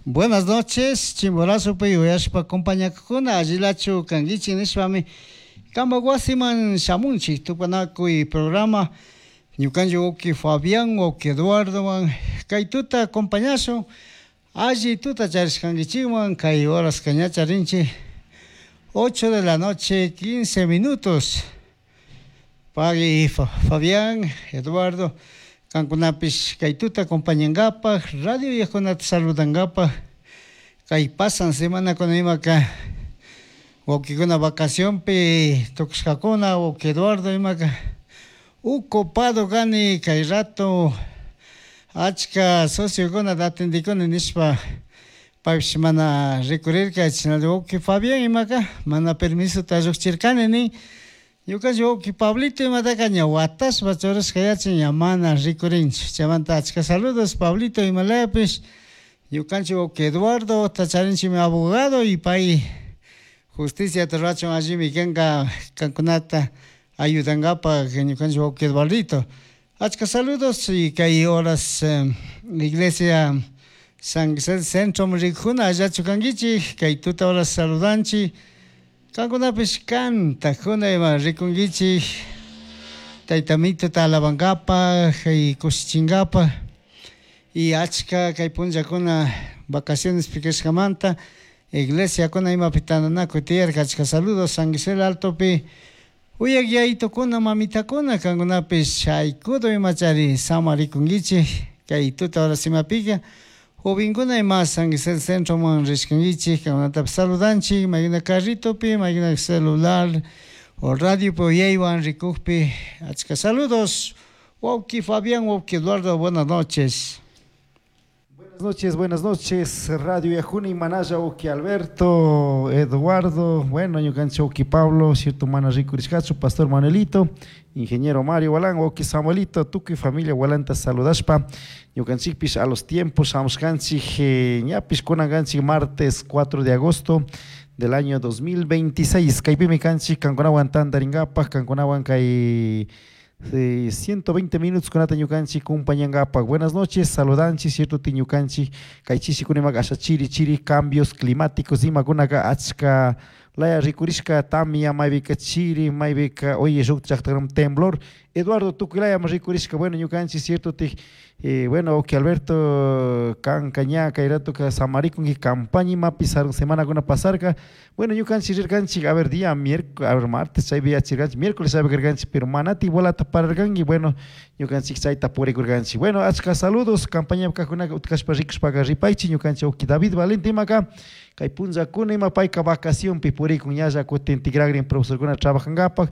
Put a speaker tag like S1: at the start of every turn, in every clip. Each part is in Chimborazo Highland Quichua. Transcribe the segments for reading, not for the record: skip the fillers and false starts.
S1: Buenas noches, Chimborazopi uyashpa compañakuna allilachu kankichik nishpami kampak wasiman shamunchik tupanakuy programa ñukanchik wawki Fabián, wawki Eduardowan kay tuta acompañashun alli tuta charishkankichikman kay horaska ña charinchik 8 de la noche 15 minutos. Pagui Fabián, Eduardo, kankunapish kay tuta acompañankapaj radio yakunata saludankapaj kay pasan semanakuna imaka wawkikuna vacacionpi tukushkakuna wawki Eduardo imaka ocupado kani kay rato achka sociokunata atendikuni nishpa paypish mana rikurirka chashnalla wawki Fabián imaka mana permisota llukchirkani nin ñukanchik wawki Pablito imataka ña watashpa churashka yachan ña mana rikurinchu chaymanta achka saludos Pablito imalayapish ñukanchik wawki Eduardo charinchikmi abogado y pay justiciata rurachun allimi kanka kankunata ayudankapak ñukanchik wawki Eduardito. Achka saludos y kay horas iglesia San José Centro rikuna allachu kankichik kay tuta horas saludanchik kankunapish kantakuna ima rikunkichik tayta Mituta alabankapaj y kushichinkapaj y achka kay punllakuna vacacionespi kashkamanta iglesiakuna imapi tantanakuy tiyarka achka saludos San José Altopi uyak yayitukuna mamitakuna kankunapish shaykudo imachari samarikunkichik kay tuta horas imapika jovenkuna ima San José Centroman rishkankichik kankunatapish saludanchik maykuna carritopi maykuna celular o radiopi uyaywan rikukpi achka saludos wawki Fabián wawki Eduardo buenas noches.
S2: Buenas noches, Radio Yajuni, Manaya, Oki Alberto, Eduardo, bueno, ñukanchik Oki Pablo, cierto mana rikurishkachu, Pastor Manuelito, Ingeniero Mario Walán, Oki Samuelito, tukuy familia Walanta saludashpa, ñukanchikpish a los tiempos shamushkanchik, ñapish kunankanchik martes 4 de agosto del año 2026, kaypimi kanchik kankunawan tantarinkapak, kankunawan kay 120 minutos kunata ñukanchik kumpañankapak. Buenas noches, saludanchik, cierto tiñukanchik, kay chishikunimaka asha chiri chiri cambios climáticos imakunaka achka laya rikurishka tamia maybika chiri maybika oye shuk llaktakunaman temblor. Eduardo tukuy layami rikurishka, bueno ñukanchik cierto tik bueno oki Alberto kanka ña kay ratoka samarikunki campaña imapi sarun semanakuna pasarka. Bueno ñukanchik rirkanchik a ver día miércoles, a ver martes chaypi yachirkanchik, miércoles chaypi karkanchik, pero manati volata pararkanki, bueno ñukanchik chayta purikurkanchik. Bueno achka saludos campaña kajkunaka utkashpa rikushpaka ripaychik ñukanchik oki David Valente imaka kay punllakuna ima payka vacacionpi purikun ñalla kutin tikragrin profesorkuna trabajankapak.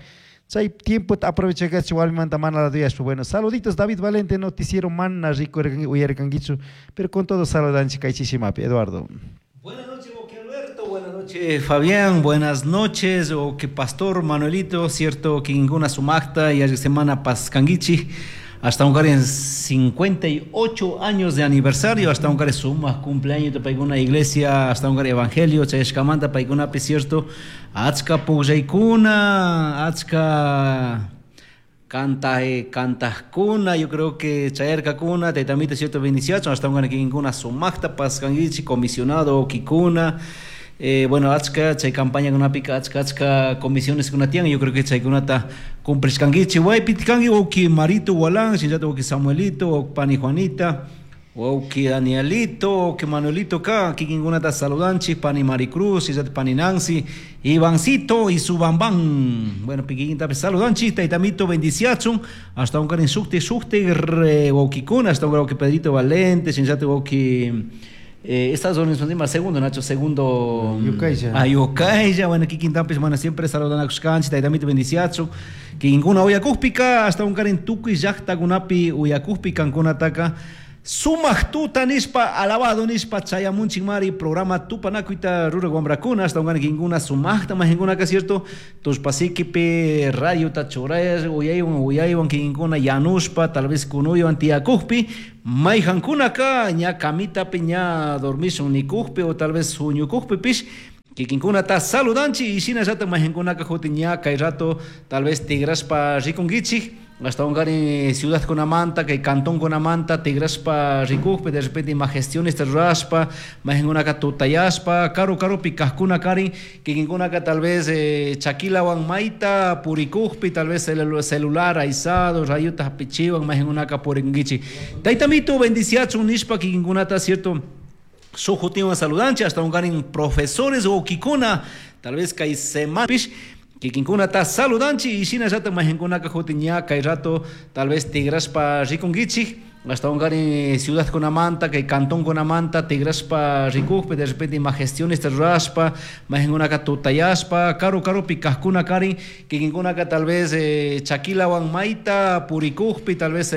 S2: Chay tiempota aprovechakachi warmimanta mana laduyashpa. Bueno, saluditos David Valente, noticiero mana rikurkanki uyarkankichu, pero con todo saludanchik kay chishimapi, Eduardo.
S3: Buenas noches, Oki Alberto, buenas noches, Fabián, buenas noches, Oki Pastor Manuelito, cierto, kinkuna sumakta y ayer semana paskanguichi, hasta un en 58 años de aniversario, hasta un suma cumpleaños de paiguna iglesia, hasta un evangelio, chayashkamanta paiguna cierto, achka pugllaykuna, achka cantajkuna, yo creo que chayarkakuna, taytamita cierto bendiciacho, hasta un kinkuna sumakta paskanguichi, comisionado kikuna. Bueno, achka chay campaña kunapika achka achka comisiones kunatian, yo creo que chaykunata cumplishkankichik. Waypitkanki wawki Marito Walán, shinllatak wawki Samuelito, wawki Pani Juanita, wawki Danielito, wawki Manuelito ka, kikinkunata saludanchik, Pani Maricruz, shinllatak Pani Nancy, Ivancito y su bambán. Bueno, pikikintapish saludanchik, taytamito bendiciachun, hasta un karin shukti shukti wawkikuna, hasta un wawki Pedrito Valente, shinllatak wawki estas son más segundo, Nacho, segundo.
S2: Yukaylla.
S3: Ah, Yukaylla, bueno, kikintapish, bueno, siempre saludan a kushkanchik, taytamito bendiciachu. Kikinkuna uyakukpika, hasta un karin tukuy llaktakunapi uyakukpi kankunataka. Sumak tuta nishpa, alabado nishpa, chayamunchik mari, programa tupanakuyta rurak wambrakuna, hasta un karin kikinkuna sumakta majinkuna, cierto, tushpasikipi, radiota churayas, uyaywan, uyaywan, kikinkuna yanushpa, tal vez kunuywan tiyakukpi, mayjankunaka, ña kamitapi, ña dormishun nikukpi, o tal vez suñukukpipish, kikinkunata saludanchik, y shinallata majinkuna jutin ña kay rato, tal vez tigrashpa rikunkichik. Ashtawankarin ciudadkunamanta kay cantonkunamanta tigrashpa rikukpi de repente ima gestionesta rurashpa mayqinkunaka tutayashpa karu karupi kajkunakarin kikinkunaka tal vez chakilawan mayta purikukpi tal vez celular aysado rayuta hapichiwan mayqinkunaka purikunkichik. Taytamito bendiciachun nishpa kikinkunata cierto shuk jutinwan saludanchik ashtawankarin profesores wawkikuna tal vez kay semanapish kikinkunata saludanchik y shinallatak mayqinkunaka jutin ña kay rato tal vez tigrashpa rikunkichik ashtawankarin ciudadkunamanta kay cantonkunamanta tigrashpa rikukpi de repente ima gestionesta rurashpa mayqinkunaka tutayashpa karu karupi kajkunakarin kikinkunaka tal vez chakilawan mayta purikukpi tal vez.